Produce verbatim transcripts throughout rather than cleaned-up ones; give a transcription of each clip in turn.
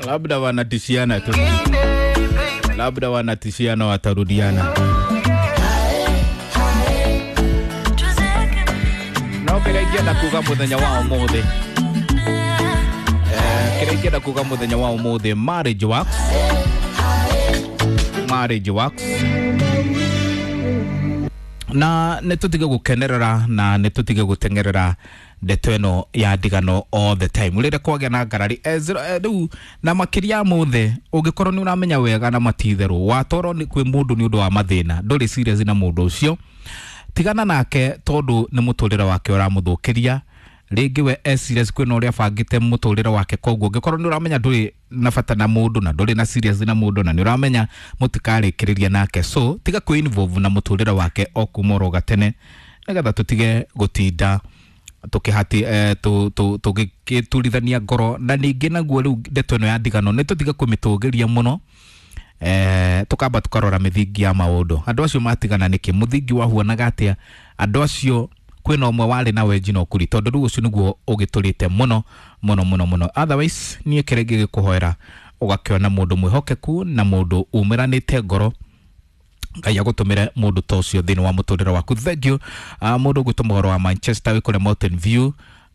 Labda wanatishiana tu, labda wanatishiana watarudiana. No kĩrĩa ingĩenda kuga mũthenya wa ũmũthĩ, eh, kĩrĩa ingĩenda kuga mũthenya wa ũmũthĩ, marriage works, marriage works, na nĩ tũtige gũkenerera na nĩ tũtige gũteng'erera ndeto ĩno ya ndigano all the time rĩrĩa kwagĩa na ngarari. eh, zero- eh, rĩu na makĩria ya mothe, ũngĩkorwo nĩ ũramenya wega na matitherũ watwarwo nĩ kwĩ mũndũ nĩ ũndũ wa mathĩna, ndũrĩ serious na mũndũ ũcio, tigana nake tondũ nĩ mũtũrĩre wake ũramũthũkĩria. Rĩngĩ we e serious kwĩna ũrĩa abangĩte mũtũrĩre wake. Koguo ũngĩkorwo nĩ ũramenya ndũrĩ na bata na mũndũ na ndũrĩ na serious na mũndũ na nĩ ũramenya mũtikarĩkĩrĩria nake, so tiga kwĩ involve na mũtũrĩre wake o kuma oro gatene, nĩgetha tũtige gũtinda tukihati eh, tu tu tugĩturithania ngoro. Na ningĩ naguo rĩu ndeto ĩno ya ndigano nĩ tũtige kũmĩtũgĩria mũno, eh, tukamba tukarora mĩthingi ya maũndũ. Andũ acio matigana nĩkĩ? Mũthingi wahuanaga atĩa? Andũ acio kwĩna ũmwe warĩ na wenji na ũkuri, tondũ rĩu ũcio nĩguo ũgĩtũrĩte mũno mũno mũno mũno. Otherwise niĩ kĩrĩa ingĩgĩkũhoera, ũgakĩona mũndũ mwĩhokeku na mũndũ umĩranĩte ngoro. Ngai agũtũmĩre mũndũ ta ũcio thĩinĩ wa mũtũrĩre waku. Thank you. uh, mũndũ ũgwĩtwo mũhoro wa Manchester wĩ kũrĩa Mountain View,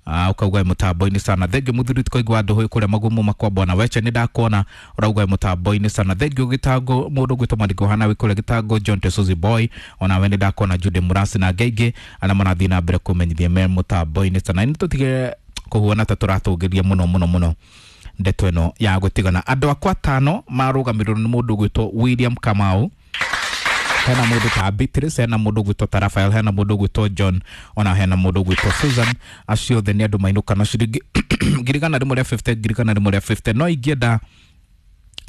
uh, ukauga mũtambo-inĩ sana. Thank you. Mũthuri tũkaigua andũ kũrĩa magumu makwa bwana weche, nĩ ndakuona ũrauga mũtambo-inĩ sana. Thank you. Gĩtango, mũndũ ũgwĩtwo Mariko Hana wĩ kũrĩa Gĩtango, John Tesuzi Boy, onawe nĩ ndakuona, Jude Murasi na angĩ aingĩ arĩa marathiĩ na mbere kũmenyithia me mũtambo-inĩ sana. Nĩ tũtige kũhuana ta tũratũgĩria mũno mũno mũno ndeto ĩno ya gũtigana. Andũ akwa atano marũgamĩrĩrwo nĩ mũndũ ũgwĩtwo William Kamau, hena mũndũ ta Beatrice, hena mũndũ ũgwĩtwo ta Raphael, hena mũndũ ũgwĩtwo John, ona hena mũndũ ũgwĩtwo Susan. Acio othe nĩ andũ mainũka na ciringi ngiri igana rĩmwe rĩa mĩrongo ĩtano, ngiri igana rĩmwe rĩa mĩrongo ĩtano. No ingĩenda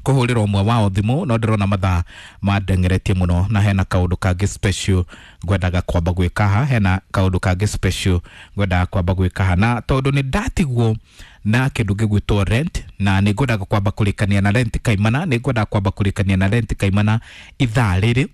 kũhũrĩra ũmwe wao thimũ, no ndĩrona mathaa mandengeretie mũno, na hena kaũndũ kangĩ special ngwendaga kwamba gwĩka haha, hena kaũndũ kangĩ special ngwendaga kwamba gwĩka haha, na tondũ nĩ ndatigwo na kĩndũ gĩgwĩtwo rent, na nĩ ngwendaga kwamba kũrĩkania na rent kaimana, nĩ ngwendaga kwamba kũrĩkania na rent kaimana ithaa rĩrĩ.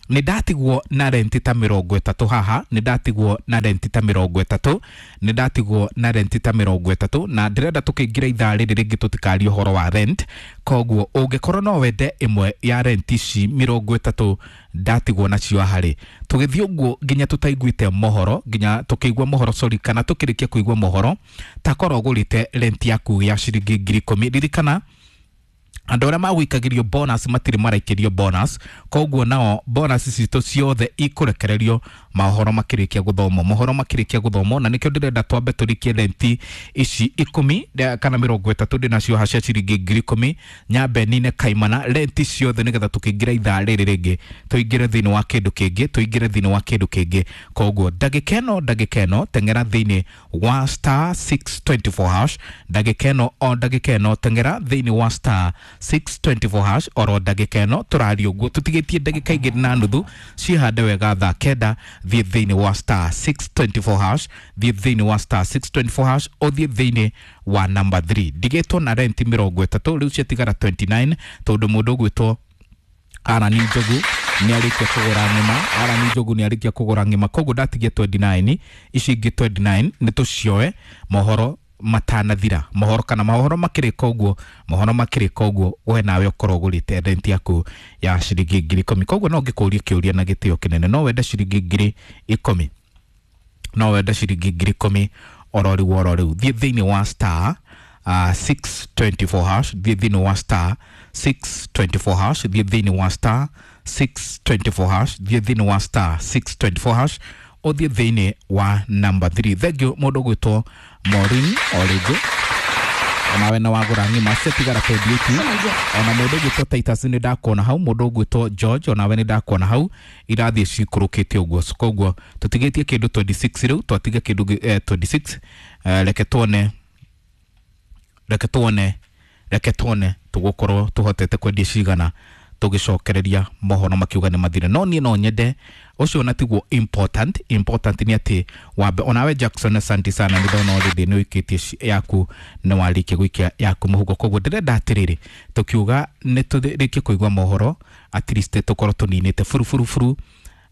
Nĩ ndatigwo na renti ta mĩrongo ĩtatũ haha, nĩ ndatigwo na renti ta mĩrongo ĩtatũ, nĩ ndatigwo na renti ta mĩrongo ĩtatũ, na ndĩrenda tũkĩingĩra ithaa rĩrĩ rĩngĩ tũtikarie ũhoro wa rent. Koguo ũngĩkorwo no wende ĩmwe ya rent ici mĩrongo ĩtatũ ndatigwo nacio haha rĩ, tũgĩthiĩ ũguo nginya tũtaiguĩte mohoro, nginya tũkĩigua mohoro, sorry, kana tũkĩrĩkia kũigua mohoro, takorwo ũgũrĩte rent yaku ya ciringi ngiri ikũmi. Ririkana andũ arĩa magũikagĩrio bonus matirĩ maraikĩrio bonus, koguo nao bonus citũ ciothe ikũrekererio mohoro makĩrĩkia gũthomwo, mohoro makĩrĩkia gũthomwo. Na nĩkĩo ndĩrenda twambe tũrikie renti ici ikũmi eh, kana mĩrongo ĩtatũ ndĩnacio haha cia ciringi ngiri ikũmi, nyambe nine kaimana renti ciothe, nĩgetha tũkĩingĩra ithaa rĩrĩ rĩngĩ tũingĩre thĩinĩ wa kĩndũ kĩngĩ, tũingĩre thĩinĩ wa kĩndũ kĩngĩ. Koguo ndagĩka ĩno, ndagĩka ĩno, teng'era thĩinĩ wa star six two four hash. Ndagĩka ĩno, o ndagĩka ĩno, teng'era thĩinĩ wa star six two four hash oro ndagĩka ĩno tũraria ũguo. Tũtigĩtie ndagĩka igĩrĩ na nuthu ciĩhande wega thaa kenda. Thiĩ thĩinĩ wa star six two four hash, thiĩ thĩinĩ wa star six two four hash, ũthiĩ thĩinĩ wa number three. Ndigĩtwo na renti mĩrongo ĩtatũ, rĩu ciatigara mĩrongo ĩrĩ na kenda, tondũ mũndũ ũgwĩtwo Arani Njogu nĩ arĩkia kũgũra ng'ima. Arani Njogu nĩ arĩkia kũgũra ng'ima, koguo ndatigia mĩrongo ĩrĩ na kenda. Ici ingĩ mĩrongo ĩrĩ na kenda nĩ tũcioe mohoro matanathira, mohoro kana mohoro makĩrĩka ũguo, mohoro makĩrĩka ũguo, we nawe ũkorwo ũgũrĩte renti yaku ya ciringi ngiri ikũmi. Koguo no ngĩkũrie kĩũria na gĩtĩo kĩnene, no wende ciringi ngiri ikũmi? No wende ciringi ngiri ikũmi oro rĩu, oro rĩu? Thiĩ thĩinĩ wa star uh, six two four hash, thiĩ thĩinĩ wa star six two four hash, thiĩ thĩinĩ wa star six two four hash, thiĩ thĩinĩ wa star six two four hash, ũthiĩ thĩinĩ wa number three. Thank you. Mũndũ ũgwĩtwo Maureen, o rĩngĩ onawe na wagũra ng'ima, ciatigara mĩrongo ĩrĩ na nyanya. Ona mũndũ ũgwĩtwo Titus nĩ ndakuona hau, mũndũ ũgwĩtwo George onawe nĩ ndakuona hau, irathiĩ cikũrũkĩte ũguo. Koguo tũtigĩtie kĩndũ mĩrongo ĩrĩ na ithathatũ, rĩu twatiga kĩndũ gĩ- eh, mĩrongo ĩrĩ na ithathatũ. eh, reke tuone, reke tuone, reke tuone tũgũkorwo tũhotete kwendia cigana tũgĩcokereria mohoro makiuga nĩ mathire. No niĩ no nyende ũcio na tiguo important. Important nĩ atĩ wambe onawe Jackson, asante sana, nĩ ndona already nĩ ũikĩtie ci- yaku, nĩ warĩkia gũikia yaku mũhuko. Koguo ndĩrenda atĩrĩrĩ, tũkiuga nĩ tũrĩkie kũigua mohoro, at least tũkorwo tũninĩte buru buru buru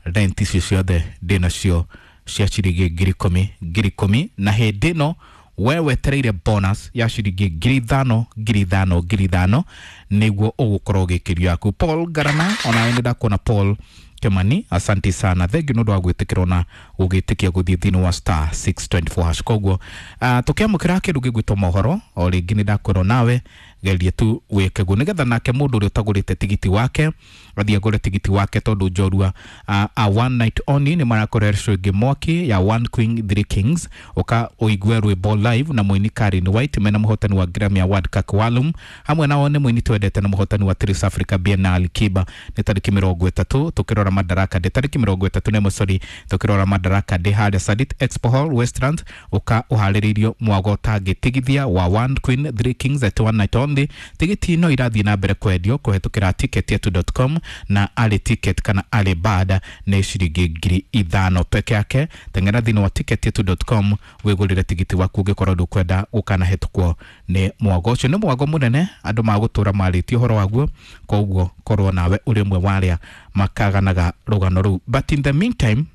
rent icio ciothe ndĩnacio cia ciringi ngiri ikũmi, ngiri ikũmi. Na hĩndĩ ĩno We wetereire bonus ya ciringi ngiri ithano ngiri ithano ngiri ithano niguo ũgũkorwo ũgĩkĩrio yaku. Paul Garana, onawe nĩ ndakuona Paul Kimani, asante sana, thengiũ nĩ ũndũ wa gwĩtĩkĩrwo na gũgĩtĩkia gũthiĩ thĩinĩ wa star six twenty four hash. Koguo uh, tũkĩamũkĩra kĩndũ gĩgwĩtwo mohoro o rĩngĩ nĩ ndakwĩrwo nawe gerie tu wĩke guo nĩgetha nake mũndũ ũrĩa ũtagũrĩte tigiti wake athiĩ agũre tigiti wake, tondũ njorua uh, a one night only nĩ marakorera show ĩngĩ mwaki ya One Queen Three Kings, ũka ũigue rwĩmbo live na mũini Karen White mena mũhotani wa Grammy Award Kak Walum, hamwe nao nĩ mũini twendete na mũhotani wa Trace Africa Biennale Kiba. Nĩ tarĩki mĩrongo ĩtatũ tũkĩrora Madaraka Day, tarĩki mĩrongo ĩtatũ na ĩmwe sorry, tũkĩrora Madaraka Day harĩa Sarit Expo Hall Westlands, ũka ũharĩrĩirio mwago ũtangĩtigithia wa One Queen Three Kings at one night only. Tigiti no irathiĩ na mbere kwendio kũhetũkĩra ticket yetu dot com na ali ticket kana ali bada nĩ ciringi ngiri ithano peke yake. Teng'era thĩinĩ wa ticket yetu dot com wĩgũrĩre tigiti waku ũngĩkorwo ndũkwenda gũkanahĩtũkwo nĩ mwago ũcio. Nĩ mwago mũnene andũ magũtũra marĩtie ũhoro waguo, koguo korwo nawe ũrĩ ũmwe wa arĩa makaganaga rũgano rũu. But in the meantime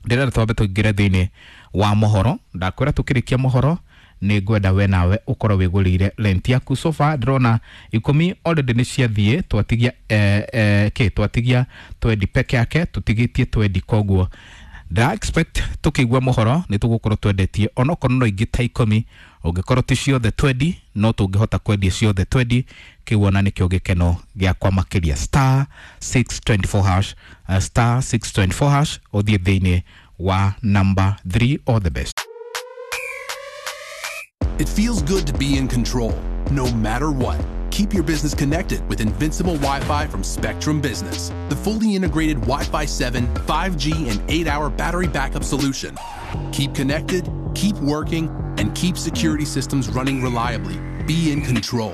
ndĩrenda twambe tũingĩre thĩinĩ wa mohoro. Ndakwĩra tũkĩrĩkia mohoro nĩ ngwenda we nawe ũkorwo wĩgũrĩire rent yaku. So far ndĩrona ikũmi already nĩ ciathiĩ, twatigia eh, eh, kĩ twatigia twendi peke yake, tũtigĩtie twendi. Koguo ndĩra expect tũkĩigua mohoro nĩ tũgũkorwo twendetie onokorwo no ingĩ ta ikũmi, ũngĩkorwo ti ciothe twendi no tũngĩhota kwendia ciothe twendi. Kĩu ona nĩkĩo gĩkeno gĩakwa makĩria. Star six twenty four hash, uh, star six twenty four hash ũthiĩ thĩinĩ wa number three, all the best. It feels good to be in control, no matter what. Keep your business connected with Invincible Wi-Fi from Spectrum Business, the fully integrated Wi-Fi seven, five G, and eight-hour battery backup solution. Keep connected, keep working, and keep security systems running reliably. Be in control.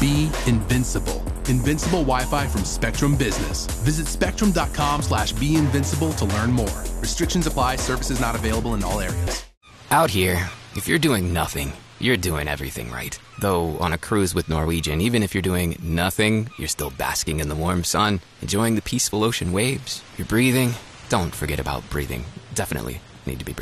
Be invincible. Invincible Wi-Fi from Spectrum Business. Visit spectrum.com slash be invincible to learn more. Restrictions apply. Services not available in all areas. Out here, if you're doing nothing, you're doing everything right. Though on a cruise with Norwegian, even if you're doing nothing, you're still basking in the warm sun, enjoying the peaceful ocean waves. You're breathing. Don't forget about breathing. Definitely need to be breathing.